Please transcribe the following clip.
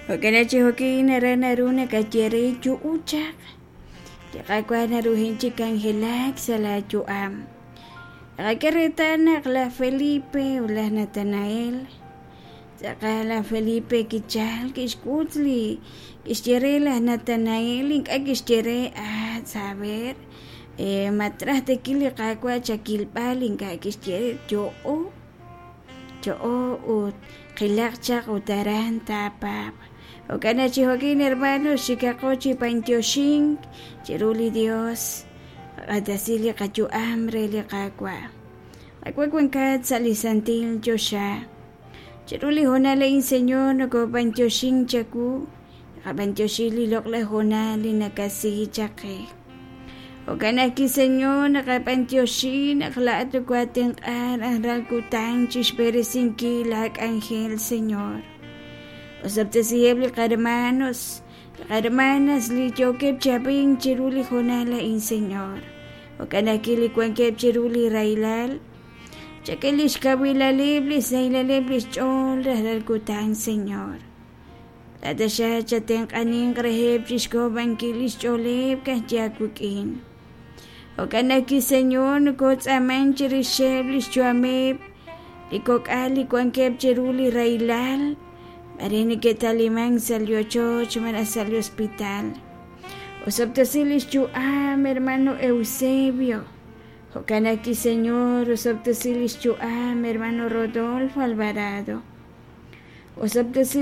Jo'kan chi jo'kin aran naru nakaye re yu'u chaq, li Qaawa' naruhin chi k'anjelak sa' laayu'am. Naqak'e reetal naq laj Felipe ut laj Natanael, tz'aqal laj Felipe kichalk kixk'ut li kixye re laj Natanael, ink'a' kixye re ah saber ma traj tekil li Qaawa' chakilb'al, ink'a' kixye re yo'o, yo'o ut qilaq chaq ut aran taapaab'. Jo'kan naq chi jo'kin hermanos xikaqo chi b'antioxink chiru li Dios, qaq'axtesi li qayu'am re li Qaawa'. Qaawa' wankat sa' li santil choxa. Chiru li hoonal a'in Señor nokob'antioxink chawu, naqab'antioxi li loq'laj hoonal li nakasi chaq qe. Jo'kan ajwi' Señor naqab'antioxi naq laa'at nokoatenq'a rajlal kutan chixb'eresinkil laak'anjel Señor. Osob'tesiheb' li qahermanos, li qahermanas li yookeb' chi ab'ink chiru li hoonal a'in Señor. Jo'kan ajwi' li wankeb' chiru li rahilal, chak'e lix kawilaleb', lix sahilaleb' lix ch'ool rajlal kutan Señor. Laa'at taxaq chatenq'aninq reheb' chixk'ojob'ankil lix ch'ooleb' ka'ajwi' aawik'in. Jo'kan ajwi' Señor nokotz'aaman chirixeb' lix yu'ameb' li kok'al li wankeb' chiru li rahilal, maare neke'talimank sa' li ochoch malaj sa' li hospital. Osob'tesi lix yu'am hermano Eusebio. Jo'kan ajwi' Señor osob'tesi lix yu'am hermano Rodolfo Alvarado. Osob'tesi.